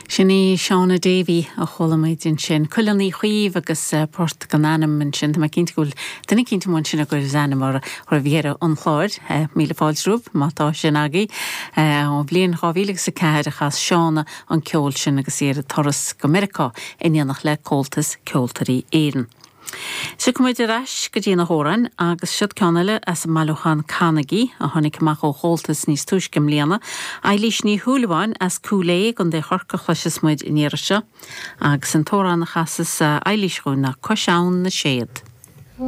Sin í Shauna Davey a chuala muid ansin. Cuileann Uí Chaoimh agus port gan ainm ansin. Tá mé cinnte go bhfuil duine eicínt amuigh ansin a gcuireas ainm orthu roimh dheireadh an chláir. Míle fáilte romhaibh má tá sin agaibh. Ón bhliain 2004 a chas Shauna an ceol sin agus í ar a turas go Meiriceá in éineacht le Comhaltas Ceoltóirí Éireann. Tiocfaidh muid ar ais go dtí na hamhráin agus siod ceann eile as an mbailiúchán Canaigí a tháinig amach ó Chomhaltas níos túisce i mbliana. Eilís Ní Shúilleabháin as Cúil Aodha i gContae Chorcaí a chloiseas muid an iarraidh seo agus an t-amhrán a chasas Eilís dhúinn ná Cois Abhann na Séad.